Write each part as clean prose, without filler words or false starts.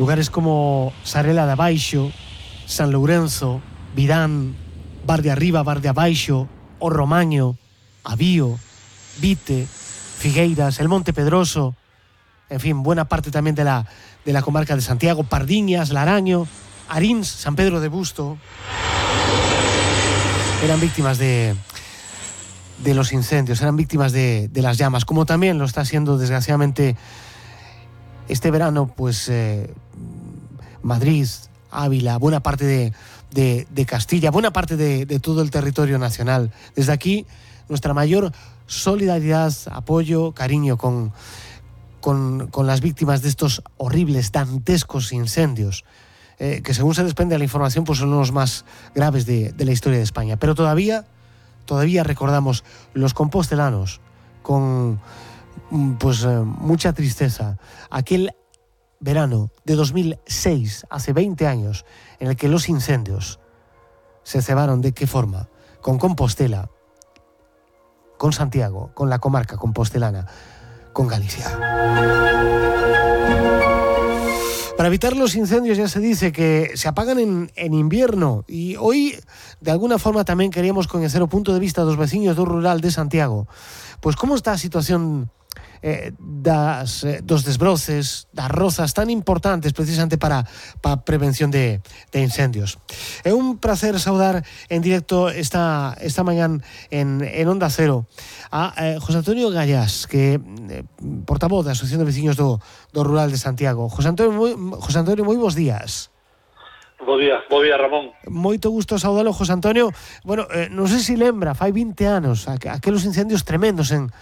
Lugares como Sarela de Abaixo, San Lourenzo, Vidán, Bar de Arriba, Bar de Abaixo, O Romaño, Avío, Vite, Figueiras, el Monte Pedroso, en fin, buena parte también de la comarca de Santiago, Pardiñas, Laraño, Arins, San Pedro de Busto, eran víctimas de los incendios, eran víctimas de las llamas, como también lo está siendo desgraciadamente este verano, pues Madrid, Ávila, buena parte de Castilla, buena parte de todo el territorio nacional. Desde aquí, nuestra mayor solidaridad, apoyo, cariño con las víctimas de estos horribles, dantescos incendios, que según se desprende de la información, pues son los más graves de la historia de España. Pero todavía recordamos los compostelanos con mucha tristeza aquel verano de 2006, hace 20 años, en el que los incendios se cebaron. ¿De qué forma? Con Compostela, con Santiago, con la comarca compostelana, con Galicia. Para evitar los incendios ya se dice que se apagan en invierno, y hoy de alguna forma tamén queríamos coñecer o punto de vista dos veciños do rural de Santiago. Pois como está a situación dos desbroces, das rozas tan importantes precisamente para prevención de incendios. É un placer saudar en directo esta mañán en Onda Cero a José Antonio Gallás, que portavoz da Asociación de Veciños do Rural de Santiago. José Antonio, moi bons días. Bo día, Ramón. Moito gusto saudalo, José Antonio. Bueno, non sei se lembra, fai 20 anos aqueles incendios tremendos en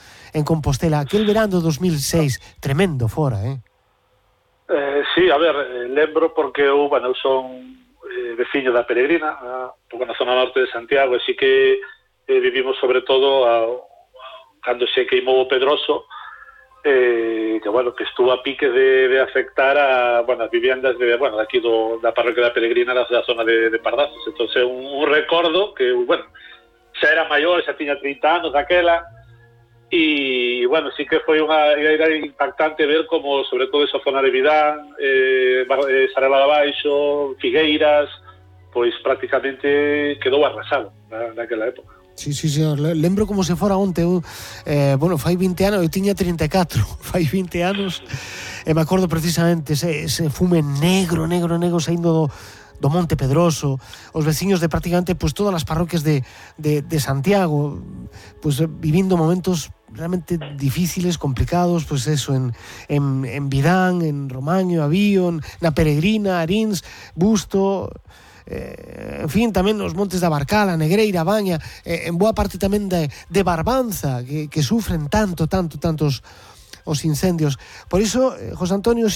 Compostela, aquel verano 2006, tremendo fora, Sí, a ver, lembro porque eu son veciño da Peregrina, un pouco na zona norte de Santiago, así que vivimos sobre todo cando se queimou o Pedroso, que estuvo a pique de afectar a as viviendas de aquí da parroquia da Peregrina, da zona de Pardazos. Entonces un recordo que, xa era maior, xa tiña 30 anos daquela, e, sí que foi era impactante ver como, sobre todo esa zona de Vidán, Sarela de Abaixo, Figueiras, pois prácticamente quedou arrasado naquela época. Sí, señor. Lembro como se fora onte. Fai 20 anos, eu tiña 34, fai 20 anos, e me acordo precisamente ese fume negro saindo do Monte Pedroso, os veciños de prácticamente todas as parroquias de Santiago, vivindo momentos realmente difíciles, complicados, en Vidán, en Romaño, Avío, na Peregrina, Arins, Busto, en fin, tamén nos montes da Barcala, Negreira, Baña, en boa parte tamén de Barbanza, que sufren tantos os incendios. Por iso, José Antonio,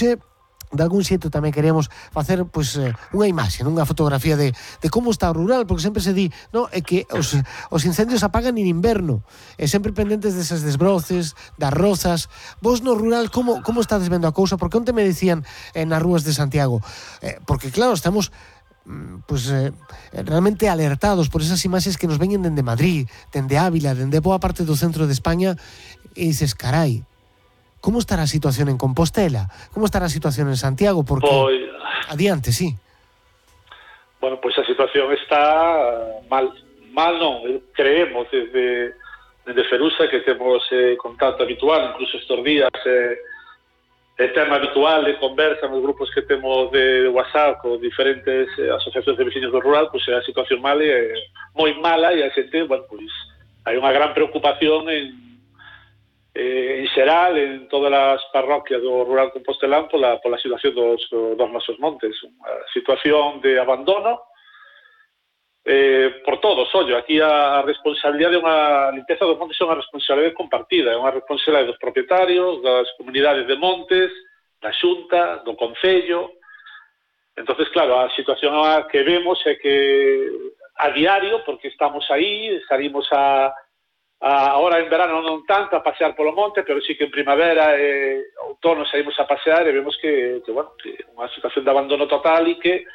de algún xeito tamén queremos facer unha imaxe, unha fotografía de como está o rural, porque sempre se di, é que os incendios apagan en inverno, e sempre pendentes desas desbroces, das rozas. Vos no rural como estades vendo a cousa? Porque onte me dicían nas rúas de Santiago, porque claro, estamos realmente alertados por esas imaxes que nos veñen dende Madrid, dende Ávila, dende boa parte do centro de España, e dices, carai, como estará a situación en Compostela? Como estará a situación en Santiago? Porque adiante, sí. Bueno, a situación está mal non, creemos desde Ferusa, que temos contacto habitual, incluso estos días tema habitual de conversa nos grupos que temos de WhatsApp con diferentes asociacións de veciños do rural, a situación mal é moi mala, e a xente, hai unha gran preocupación en xeral en todas as parroquias do rural compostelán pola situación dos nosos montes, unha situación de abandono por todos. Ollo, aquí a responsabilidade a limpeza dos montes é unha responsabilidade compartida, é unha responsabilidade dos propietarios, das comunidades de montes, da Xunta, do Concello. Entonces, claro, a situación que vemos é que a diario, porque estamos aí, salimos ahora en verano non tanto a pasear polo monte, pero sí que en primavera e outono saímos a pasear, e vemos que unha situación de abandono total, e que